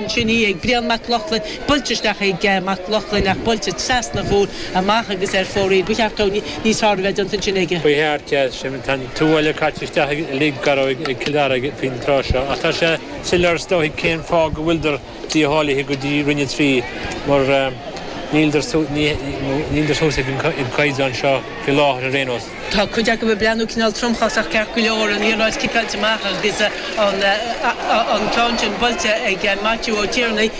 ansin í ag Brian Mac Lochlainn, buailte isteach ag Mac Lochlainn ach buailte trasna an chúil amach agus ar fóraoil. Ba cheart dó níos fearr a bheith déanta ansin aige. Ba cheart, yeah. Sin, tá an tuáille caite isteach uilig gar ag Cill Dara faoin tráth seo ach tá sé soiléir is dóigh cén fáth go bhfuildear dícháilithe go dtí Roinn 3 mar níldear suas ag an gcaighdeán seo faoi láthair ar aon nós. Tá cuid acu ag breathnú cineál tromchásach ceart go leor, an liathróid ciceáilte amach agus an ceann sin buailte ag Maitiú Ó Tiarnaigh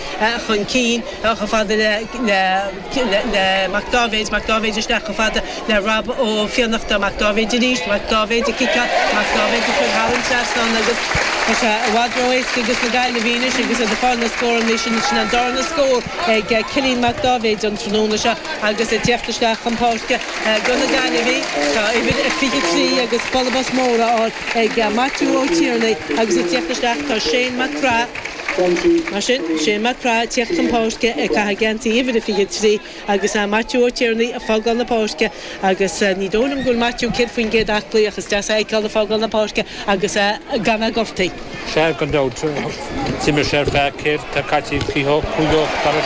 chun cinn chomh fada le Mac Dáibhéid, Mac Dáibhéid isteach chomh fada le Rob Ó Fiannachta, Mac Dáibhéid arís, Mac Dáibhéid ag ciceáil, Mac Dáibhéid ag cur thar an trasnán agus tá sé i bhfad ró-éasca ages na Gaillimhigh anois agus iad ag fáil na scóranna sin, sin an darna scór ag Cillian Mac Dáibhéid an tráthnóna seo agus ag teacht isteach chun páirce. Do na Gaillimhigh, tá uimhir a 23 agus bualadh bos mór á fháil ag Maitiú Ó Tiarnaigh agus ag tíocht isteach tá Shane Mac Craith. Mar sin, Shane Mac Craith ag tíocht chun páirce ag caitheamh geansaí uimhir a 23 agus Maitiú Ó Tiarnaigh ag fágáil na páirce agus ní dóigh liom go bhfuil Maitiú 100% aclaí ach is deas é a fheiceáil ag fágáil na páirce agus gan é gortaithe. Sea, gan dabht, d'imir sé ar feadh céard tá caite 55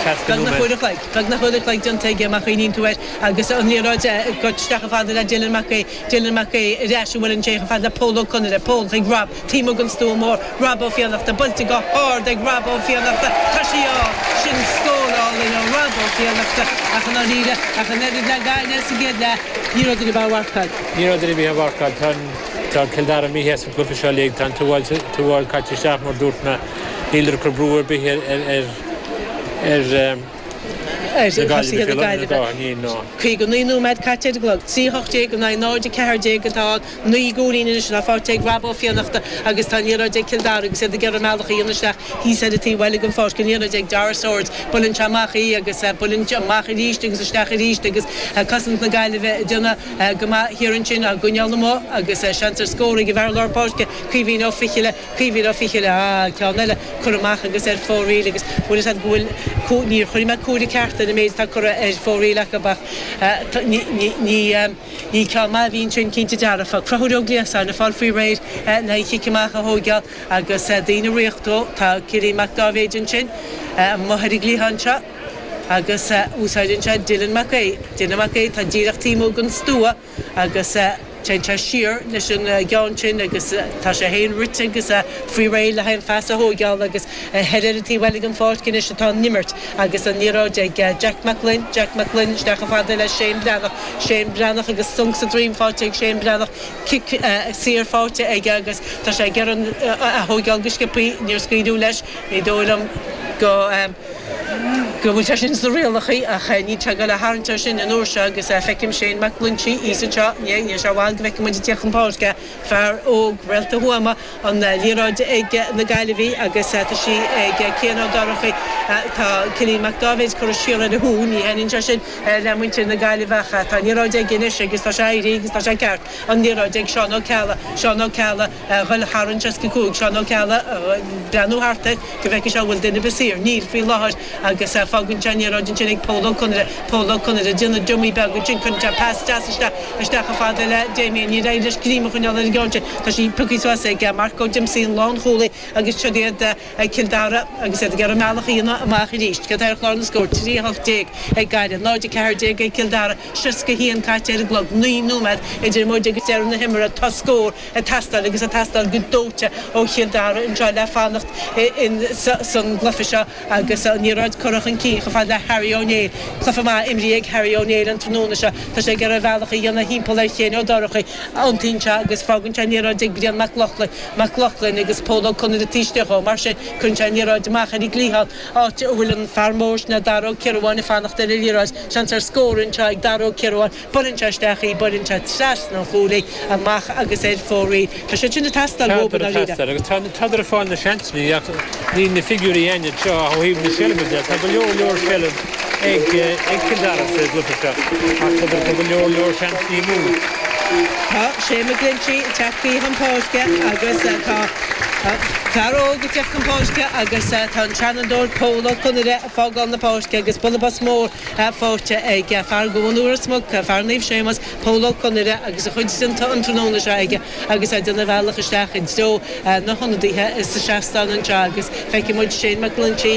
60 Beagnach uair a chloig. Beagnach uair a chloig déanta aige má chuimhníonn tú air. Agus an liathróid ag goil isteach chomh fada le Dylan Mac Aodha, Dylan Mac Aodha ar ais an bhfuil sé chomh fada le Pól Ó Conaire, Pól chuig Rob, taobh amuigh den stua mór, Rob Ó Fiannachta, buailte go hard ag Rob Ó Fiannachta, tá sí ann! Sin scór álainn ó Rob Ó Fiannachta ach i ndáiríre, ach an oiread le Gaillimh sa gcéad leath, ní raibh duine ar bith á mharcáil. Ní raibh duine ar bith á mharcáil. Tá tá Cill Dara imithe as an gcluiche seo uilig, tá an tuáille caite isteach mar dúirt mé, níltear ag cur brú ar bith ar ar ar ar thosaithe na Gaillimhe. 59 nóiméad caite ar an gclog, 3 18 in aghaidh 0 14 atá ann, 9 gcúilín anois atá faighte ag Rob Ó Fiannachta agus tá an liathróid ag Cill Dara agus iad ag iarraidh a mbealach a dhéanamh isteach thíos ar an taobh eile den pháirc, an liathróid ag Dara Swords, buaileann sé amach í agus buaileann sé amach arís agus isteach arís agus cosaint na Gaillimhe ag déanamh go maith thiar ansin á gcoinneáil amuigh agus seans ar scór ag an bhfear lár páirce, Caoimhín Ó Fichille. Caoimhín Ó Fichille, ah, ceann eile curtha amach agus ar fóraoil agus bhfuil fhios a'd go bhfuil, níor chuir mé cúire ceart ar an méid atá curtha ar fóraoil acu ach ní, ní, ní, ní ceann maith a bhí ansin cinnte dearfa. Conchúr Ó Gliasáin ag fáil faoi réir le an chic amach a thóigeáil agus daoine ag ritheacht dó. Tá Cillian Mac Dáibhéid ansin amuigh ar an gcliathán seo agus úsáideann sé Dylan Mac Aodha. Dylan Mac Aodha atá díreach taobh amuigh den stua. agus téann sé siar leis an gceann sin agus tá sé féin rite agus faoi réir le haghaidh an phas a thóigeáil agus thoir ar an taobh eile den pháirc anois atá an imirt agus an liathróid ag Jack Mac Gloinn, Jack Mac Gloinn isteach chomh fada le Shane Breathnach, Shane Breathnach agus sonc sa droim faighte ag Shane Breathnach, cic saor faighte aige agus tá sé ag iarraidh a thóigeáil go sciobthaí, níor scaoileadh leis, ní dóigh liom go. go bhfuil sé sin sna rialacha ach níl sé ag dul a tharraingt air sin an uair seo agus feicim Shane Mac Loinsigh thíos anseo, níl sé i bhfad go bhfeicfidh muid ag tíocht chun páirce fear óg, réalta Thuama, an liathróid ag na Gaillimhigh agus tá sí ag Cian Ó Dorchaí, tá Cillian Mac Dáibhéid curtha siar ar a shú, ní thaitníonn sé sin le muintir na Gaillimhe ach tá an liathróid aige anois agus tá sé éirithe agus tá sé ceart, an liathróid ag Seán Ó Ceallaigh, Seán Ó Ceallaigh a dhul thar an 65, Seán Ó Ceallaigh ag breathnú thart air. go bhfeicfidh sé an bhfuil duine ar bith saor. Níl, faoi láthair, agus fágann sé an liathróid ansin ag Pól Ó Conaire. Pól Ó Conaire ag déanamh dummy beag ansin, cuireann sé pas deas isteach, isteach chomh fada le Damien. Níor éirigh leis greim a choinneáil ar an gceann sin. Tá sí pioctha suas ag Marc Ó Diomsaí, an lánchúlaí, agus siod iad ag Cill Dara agus iad ag iarraidh a mbealach a dhéanamh amach arís. Céard tá ar chlár na scór? 3 18 ag Gaillimh, 0 14 ag Cill Dara, 61 caite ar an gclog, 9 nóiméad idir muid agus deireadh na himeartha. Tá scór. ag teastáil agus ag teastáil go dóite ó Chill Dara anseo le fanacht san gcluiche seo agus an liathróid curtha chun cinn chomh fada le Harry Ó Néill. Cluiche maith imrithe ag Harry Ó Néill an tráthnóna seo. Tá sé ag iarraidh a bhealach a dhéanamh thimpeall ar Shane Ó Dorchaí. Iontaíonn sé agus fágann sé an liathróid ag Brian Mac Lochlainn. Mac Lochlainn agus Pól Ó Conaire taobh istigh dhó. Mar sin, cuireann sé an liathróid amach ar an gcliathán, áit a bhfuil an fear mór sin, Dara Ó Ciarabháin, ag fanacht ar an liathróid. Seans ar scór anseo ag Dara Ó Ciarabháin. Buaileann sé isteach í, buaileann sé trasna an chúil í, amach agus ar fóraoil. Tá siad sin ag teastáil uathu, i Tádar ag ndáiríre. teastáil agus tádar ag fáil na seansanna ach níl na figiúirí againn anseo ó thaobh na seilbhe de. Tá go leor leor seilbh ag Cill Dara sa gcluiche seo ach tádar ag cur go leor leor seansanna amú. Tá Shane McGlinchey ag teacht chun páirce agus tá fear óg ag teacht chun páirce agus tá an seanfhondúir Pól Ó Conaire ag fágáil na páirce agus bualadh bos mór faighte ag fear Dhún Ros Muc, fear Naomh Séamus, Pól Ó Conaire agus a chuid déanta an tráthnóna seo aige agus é ag déanamh a bhealach isteach i dtreo na hionadaithe sa seastán anseo agus feicfidh muid Shane McGlinchey.